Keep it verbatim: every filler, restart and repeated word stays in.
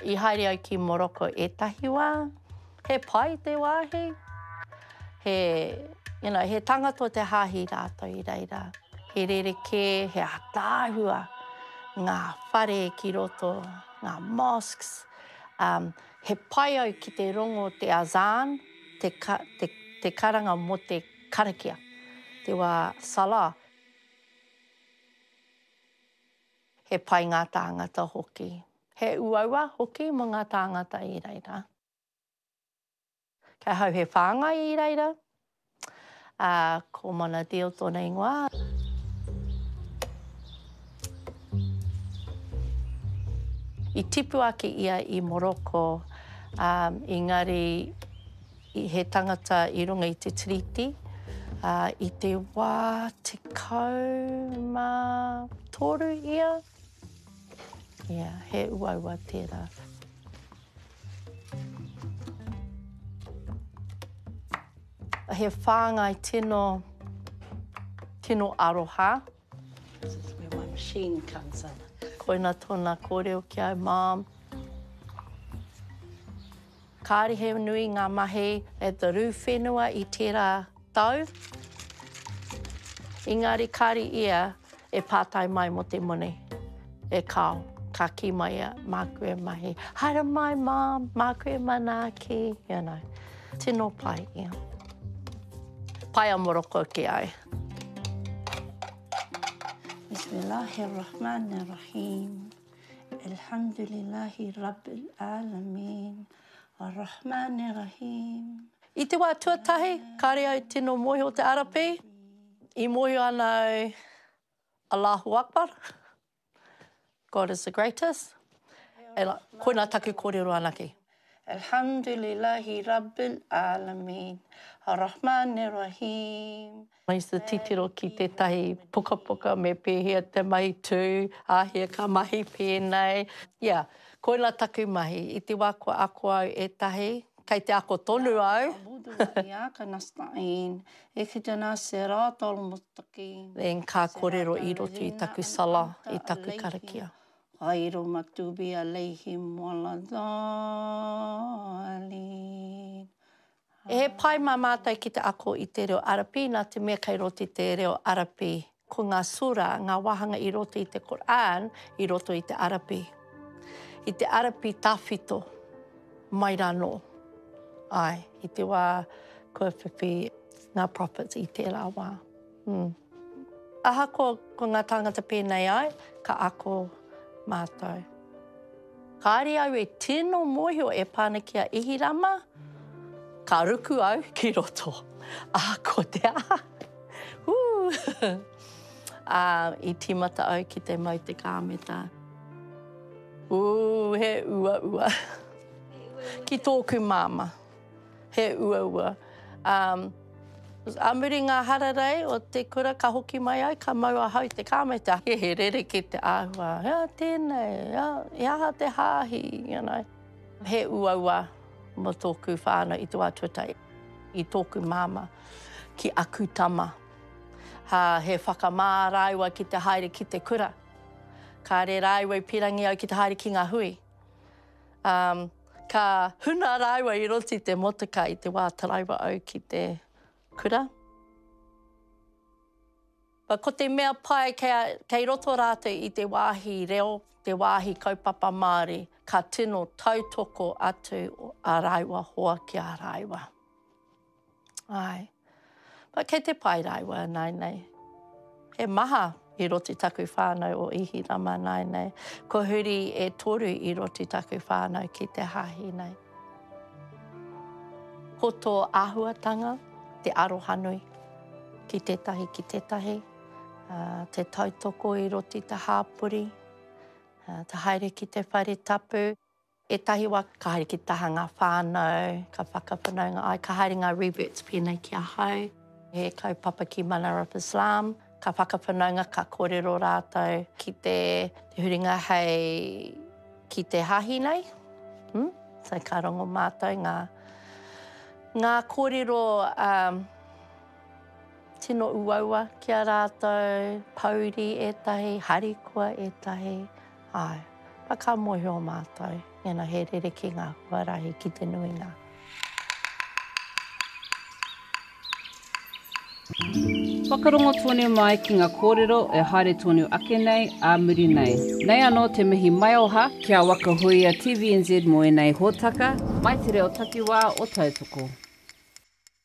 I haere au ki Morocco ētahi wā. He pai te wāhi. He, you know, he tangata o te hāhi rātou i reira. He rerekē, he ātaahua ngā whare ki roto, ngā mosques. Um, he pai au ki te rongo te azan, te, ka, te, te karanga mō te karakia, te wā salah. He pai ngā tāngata hoki. He uaua hoki mō ngā tāngata i reira. Kei ahau he whāngai i reira, ā, ko Monadil tōna ingoa. I tipu ake ia i Moroko, ā, engari he tangata i runga i te tiriti, ā, i te wā tekau mā toru ia. Yeah, he uaua tērā. He whāngai tino, tino aroha. This is where my machine comes in. Koina tōna kōrero ki au, Mom, kāre he nui ngā mahi at the rū whenua i tērā tau. Engari kāre ia e pātai mai mō te moni. E kāo, ka kī mai ia, māku e mahi. Haere mai, Mom, māku e manaaki, you know. Tino pai ia. Pai a Morocco ki au. Bismillahirrahmanirrahim. Alhamdulillahi Rabbil Alameen. Arrahmanirrahim. I te wā tuatahi, kāre au tino mōhio te Arapi. I mōhio ana au, Allahu Akbar, God is the greatest. And koina taku kōrero anake. Alhamdulillahi Rabbil Alameen. Arrahmanirrahim. I used to titiro ki tētahi pukapuka me pēhea te mahi tū, āhea ka mahi pēnei. Yeah, koina taku mahi. I te wā kua ako au ētahi, kei te ako tonu au. Then ka kōrero i roto i taku salah, i taku karakia. He pai mā mātou ki te ako i te reo Arapi nā te mea kei roto i te reo Arapi. Ko ngā surah, ngā wāhanga i roto i te Qur'an, i roto i te Arapi. I te Arapi tawhito, mai rānō. Āe, i te wā kua whiwhi ngā prophets i tērā wā. Mm. Ahakoa ko ngā tāngata pēnei ai, ka ako mātou. Kāre au e tino mōhio e pā ana ki a Ihirama, ka ruku au ki roto. Ahakoa te aha. Woo! Ā, i tīmata au ki te mau te kāmeta. Ooh, he uaua. Ki tōku māmā. He uaua. Um, ā muri ngā hararei o te kura ka hoki mai ai, ka mau ahau te kāmeta. He rerekē te āhua. Ea tēnei, ea, he aha te hāhi, you know. He uaua mō tōku whānau i te wā tuatahi, i tōku māmā ki aku tama. Ha, he whakamā rāua ki te haere ki te kura. Kāre rāua i pīrangi au ki te haere ki ngā hui. Um, ka huna rāua i roto i te motoka i te wā taraiwa au ki te kura. But ko te mea pai kei, kei roto rātou i te wāhi reo, te wāhi kaupapa Māori, ka tino tautoko atu a rāua hoa ki a rāua. Āe. But kei te pai rāua nāianei. He maha i roto i taku whānau o Ihirama nāianei. Kua huri e toru i roto i taku whānau ki te hāhi nei. Ko tō āhuatanga, te arohanui ki tētahi ki tētahi, te tautoko i roto i te hāpori, te haere ki te whare tapu. Ētahi wā ka haere ki te taha ngā whānau, ka whakawhanaunga ai, ka haere ngā reverts pēnei ki ahau. He kaupapa ki Manara of Islam, ka whakawhanaunga, ka kōrero rātou ki te huringa hei ki te hāhi nei. Hmm? So ka rongo mātou ngā, ngā kōrero um, tino uaua ki a rātou, pouri ētahi, harikoa ētahi. Āe. But ka mōhio mātou, you know, he rerekē ngā huarahi ki te nuinga. Whakarongo tonu mai ki ngā kōrero e haere tonu ake nei, ā muri nei. Nei anō te mihi maioha ki a Waka Huia T V N Z mō ēnei hōtaka, mai te reo takiwā o Tautoko.